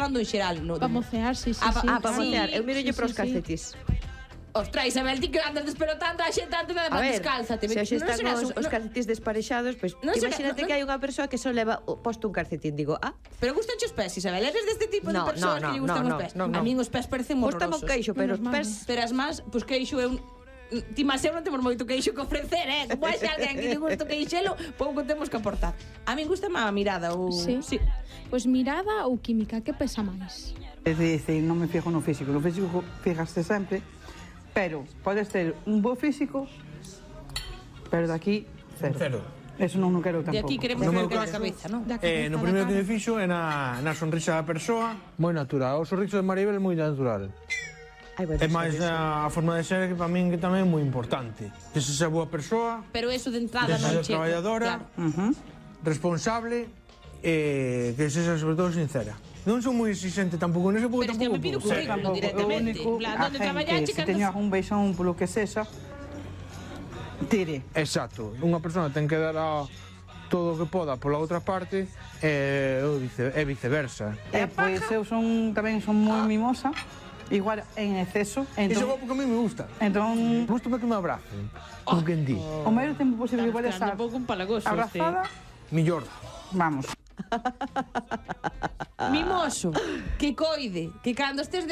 falando en xeral. Para mocear, sí. Para mocear. Eu miro para os calcetís. Ostras, Isabel, ti que andas despelotando a xente antes de descálzate. Se hoxe están os calcetís desparexados, pois imagínate que hai unha persoa que só leva posto un calcetín, digo, Pero gustan os pés, Isabel? Eres deste tipo de persoas que lle gustan os pés? A min os pés parecen horrorosos. Gustame o queixo, pero os pés... Pero as más, pois queixo é un... Ti máis eu non temos moito queixo que ofrecer, Como hai alguén que lle gusta o queixelo, pouco temos que aportar. A min gusta má mirada ou... Sí. Pois mirada ou química, que pesa máis? É dicir, non me fijo no físico. No físico fijaste sempre, pero podes ter un bo físico, pero de aquí, cero. Eso non quero tampouco. De aquí queremos ver que a cabeza, non? No primeiro que me fixo é na sonrisa da persoa, moi natural. O sorriso de Maribel é moi natural. É máis a forma de ser que para min que tamén é moi importante. Que se xa boa persoa, pero eso de entrada non chega. Traballadora, responsable, que sexa sobre todo sincera. Non son moi exigente tampouco, non se pouco tampouco. Pero me pido currículum directamente. Onde traballaxe, se teño algún beixón polo que sexa, tire. Exacto. Unha persona ten que dar todo o que poda pola outra parte e viceversa. Pois eu tamén son moi mimosa, igual en exceso. Iso é porque a mí me gusta. Entón... Gústame que me abracen, como quen di. O maior tempo posible igual estar abrazada, millor. Vamos. Mimoso, que coide, que cando estés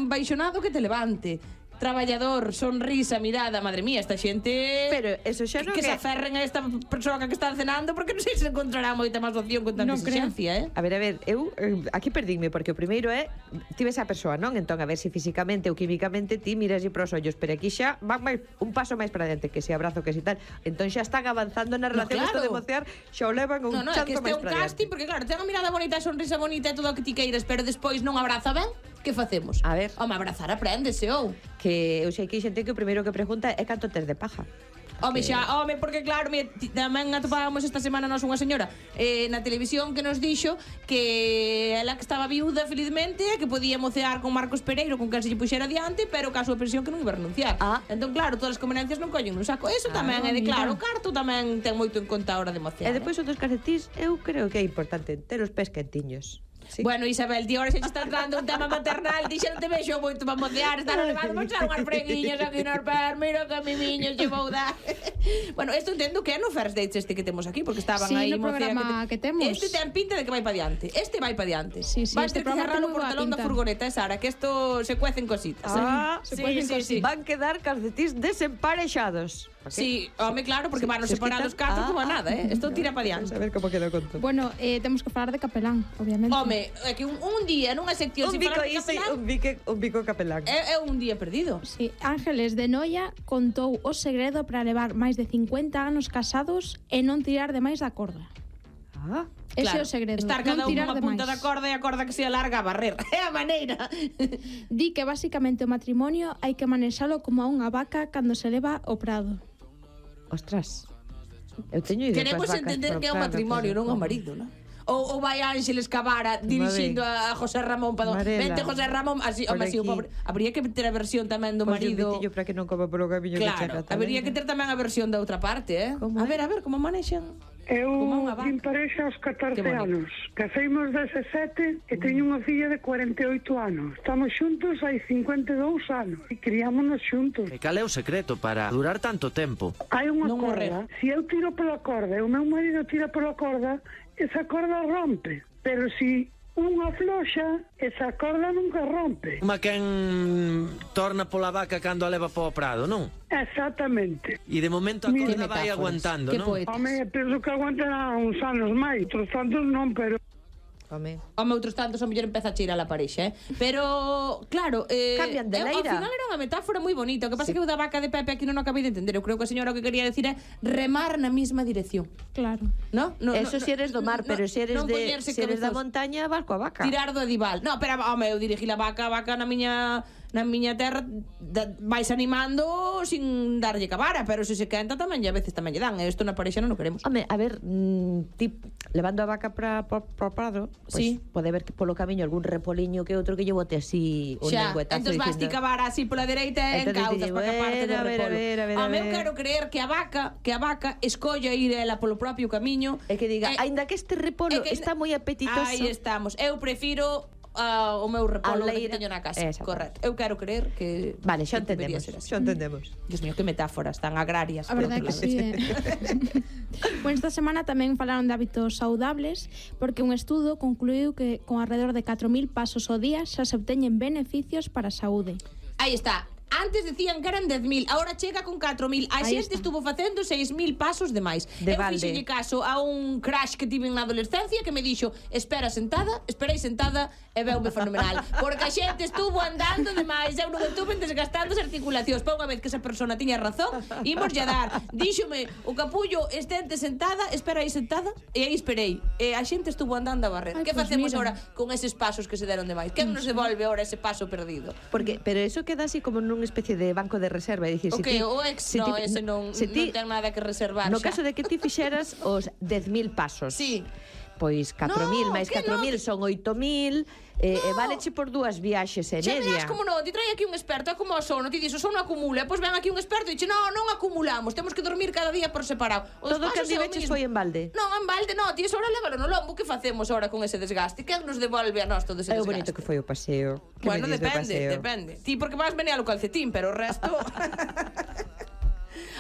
baixonado que te levante. Traballador, sonrisa, mirada, madre mía, esta xente... Pero eso xa non que se aferren a esta persoa que están cenando, porque non sei se encontrará moita máis opción con tanta exigencia, A ver, eu aquí perdínme, porque o primeiro é ti ves a persoa, non? Entón, a ver se físicamente ou químicamente ti miras para os ollos, pero aquí xa van un paso máis para diante, que se abrazo, que se tal. Entón xa están avanzando na relación, isto de mocear, xa o levan un chanto máis para diante. É que este é un casting, porque claro, ten a mirada bonita, a sonrisa bonita e todo o que ti queiras, pero despois non abraza ben. Que facemos? A ver. Home, abrazar apréndese, ou? Que eu sei que hai xente que o primeiro que pregunta é canto tes de paja. Home, porque claro, tamén atopábamos esta semana nós unha señora na televisión que nos dixo que ela que estaba viuda felizmente que podía mocear con Marcos Pereiro con quen se lle puxera adiante, pero caso de pensión que non iba a renunciar. Entón claro, todas as convenencias non collen un saco. Eso tamén é de claro, o carto tamén ten moito en conta a hora de mocear. E depois outros calcetís, eu creo que é importante ter os pés quentiños. Sí. Bueno, Isabel, ti ahora se estás dando un tema maternal, ti xa non te vexo moito para mocear, estar levando a echar unhas freguiñas aquí nos pés, mira que mimiños lle vou dar. Bueno, isto entendo que é no First Dates este que temos aquí, porque estaban aí no programa que temos. Este ten pinta de que vai para diante. Este vai para diante. Sí, vai ter este que cerrar o portalón da furgoneta, Sara, que isto se cuecen cositas. Sí. Van quedar calcetís desemparexados. Sí, home, claro, porque van separados catro como a nada, Isto tira para diante. A ver como queda o conto. Bueno, temos que falar de capelán, obviamente. Home, é que un día nunha sección un bico capelán. É un día perdido. Sí, Ángeles de Noia contou o segredo para levar máis de 50 anos casados e non tirar de máis da corda. Ese é o segredo. Estar cada unha punta da corda e a corda que se alarga a barrer. É a maneira. Di que basicamente o matrimonio hai que manexalo como a unha vaca cando se leva ao prado. Ostras, eu teño ideas. Queremos entender que é un matrimonio, non o marido, non? Ou vai Ángeles Cabara dirixindo a José Ramón para vente José Ramón, así o pobre. Habría que ter a versión tamén do marido. Para que non coma polo camiño que chega. Claro, habría que ter tamén a versión da outra parte, A ver, como manexan. Eu vim parexa aos 14 anos. Caseimos 17 e teño unha filla de 48 anos. Estamos xuntos hai 52 anos e criámonos xuntos. E cal é o secreto para durar tanto tempo? Hai unha corda. Se eu tiro pola corda e o meu marido tira pola corda, esa corda rompe. Pero se unha floxa, esa corda nunca rompe. Como quen torna pola vaca cando a leva para o prado, non? Exactamente. E de momento a corda vai aguantando, non? Home, penso que aguantará uns anos máis, outros tantos non, pero... Home, outros tantos a mellor empeza a cheirar a parexa, Pero, claro, cambian de leira. Ao final era unha metáfora moi bonita. O que pasa é que o da vaca de Pepe aquí non o acabei de entender. Eu creo que a señora o que quería decir é remar na mesma dirección. Claro. No, eso si eres do mar, pero se eres da montaña, vas coa vaca. Tirar do edival. No, pero, home, eu dirigí a vaca na miña terra vais animando sin darlle cabara, pero se quenta tamén e a veces tamén lle dan. Isto na parexa non o queremos. Home, a ver, levando a vaca para o prado, sí. Pode ver que polo camiño algún repoliño que outro que lle bote así un lengüetazo. Entón vas ti cabara así pola dereita e encauzas para que parte do repolo. Eu quero creer que a vaca escolla ir ela polo propio camiño e que diga, aínda que este repolo está moi apetitoso. Aí estamos. Eu prefiro o meu repolo que teño na casa. Correcto. Eu quero creer que... Vale, xa entendemos. Dios mío, que metáforas tan agrarias. A verdade que sí, Bueno, esta semana tamén falaron de hábitos saudables, porque un estudo concluiu que con alrededor de 4.000 pasos ao día xa se obteñen beneficios para a saúde. Aí está. Antes decían que eran 10.000, agora chega con 4.000. A xente estuvo facendo 6.000 pasos de máis. Eu fixenlle caso a un crash que tive na adolescencia que me dixo, esperei sentada e veume fenomenal. Porque a xente estuvo andando de máis, eu non estuve desgastando as articulacións. Pa unha vez que esa persona tiña razón, ímoslle a dar. Díxome, o capullo estente sentada, espera aí sentada, e aí esperei. E a xente estuvo andando a barrer. Que facemos agora con eses pasos que se deron de máis? Quen nos devolve agora ese paso perdido? Pero eso queda así como nunha especie de banco de reserva, é dicir, ese non ten nada que reservar. No caso de que ti fixeras os 10.000 pasos. Sí. Pois 4.000 máis 4.000 son 8.000 e valeche por 2 viaxes e media. Xa verás como non, ti trai aquí un experto, é como o sono, ti dixo, o sono acumula, pois ven aquí un experto e dixe, non acumulamos, temos que dormir cada día por separado. Todo o que andiveches foi en balde? Non, en balde non, ti ahora lévalo no lombo, que facemos ahora con ese desgaste? Quen nos devolve a nós todo ese desgaste? É o bonito que foi o paseo. Bueno, depende. Ti porque vas venir ao calcetín, pero o resto...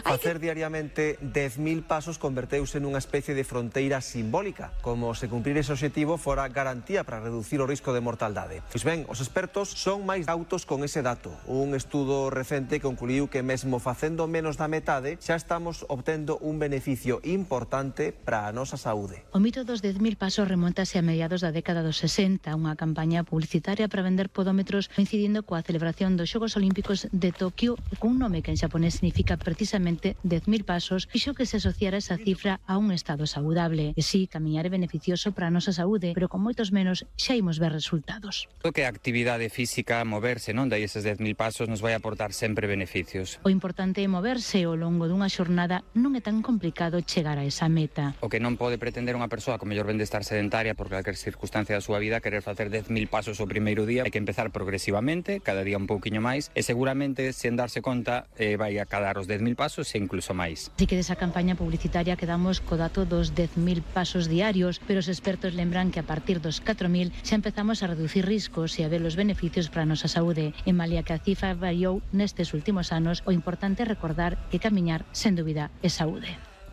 Facer diariamente 10.000 pasos converteuse nunha especie de fronteira simbólica, como se cumprir ese objetivo fora garantía para reducir o risco de mortaldade. Pois ben, os expertos son máis cautos con ese dato. Un estudo recente concluiu que mesmo facendo menos da metade, xa estamos obtendo un beneficio importante para a nosa saúde. O mito dos 10.000 pasos remontase a mediados da década dos 60, unha campaña publicitaria para vender podómetros coincidindo coa celebración dos Xogos Olímpicos de Tokio, cun nome que en xaponés significa precisamente 10.000 pasos, fixo que se asociara esa cifra a un estado saudable. E sí, camiñar é beneficioso para a nosa saúde, pero con moitos menos xa imos ver resultados. O que a actividade física, moverse, non? Dai eses 10.000 pasos nos vai aportar sempre beneficios. O importante é moverse ao longo dunha xornada, non é tan complicado chegar a esa meta. O que non pode pretender unha persoa que mellor ven de estar sedentaria por calquer circunstancia da súa vida, querer facer 10.000 pasos o primeiro día, hai que empezar progresivamente, cada día un pouquiño máis, e seguramente, sen darse conta, vai a cadar os 10.000 pasos e incluso máis. Así que desa campaña publicitaria quedamos co dato dos 10.000 pasos diarios, pero os expertos lembran que a partir dos 4.000 xa empezamos a reducir riscos e a ver os beneficios para a nosa saúde. En malia que a cifra variou nestes últimos anos, o importante é recordar que camiñar, sen dúbida, é saúde.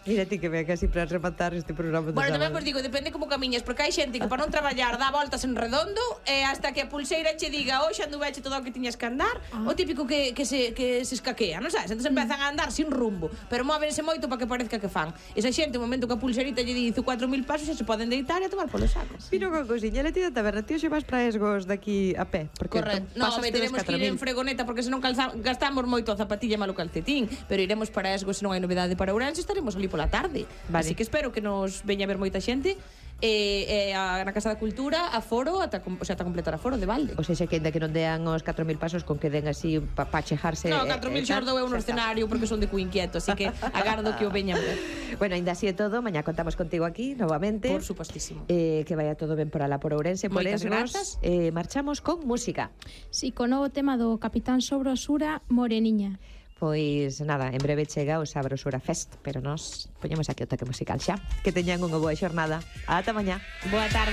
Mira ti que ve casi para rematar este programa de Bueno, tamén vos digo, depende como camiñas, porque hai xente que para non traballar dá voltas en redondo e hasta que a pulseira che diga hoxe anduveche todo o que tiñas que andar, o típico que se escaquea, non sabes? Entón empezan a andar sin rumbo, pero móvense moito para que parezca que fan. Esa xente, o momento que a pulseirita lle dice 4.000 pasos, xa se poden deitar e a tomar polos sacos. Mira unha cousiña, le ti da taberna, ti xe vas para Esgos daqui a pé, porque correcto. No, teremos que ir en fregoneta porque senón gastamos moito a zapatilla malo calcetín, pero iremos para Esgos se non hai novedade para Ourense, estaremos ali pola tarde. Vale. Así que espero que nos veña a ver moita xente na Casa da Cultura aforo ata completar aforo de balde. O sea, que ainda que non dean os 4.000 pasos con que den así para chejarse. No, 4.000 xordo é un escenario porque son de cu inquieto, así que agardo que o veñan ver. Bueno, ainda así é todo, mañá contamos contigo aquí novamente. Por supuestísimo. Que vaya todo ben por alá por Ourense, por Esgos. Marchamos con música. Si, con novo tema do Capitán Sobrosura, Moreniña. Pois nada, en breve chega o Sabrosura Fest, pero nós poñemos aquí o toque musical xa. Que teñan unha boa xornada. Ata mañá. Boa tarde.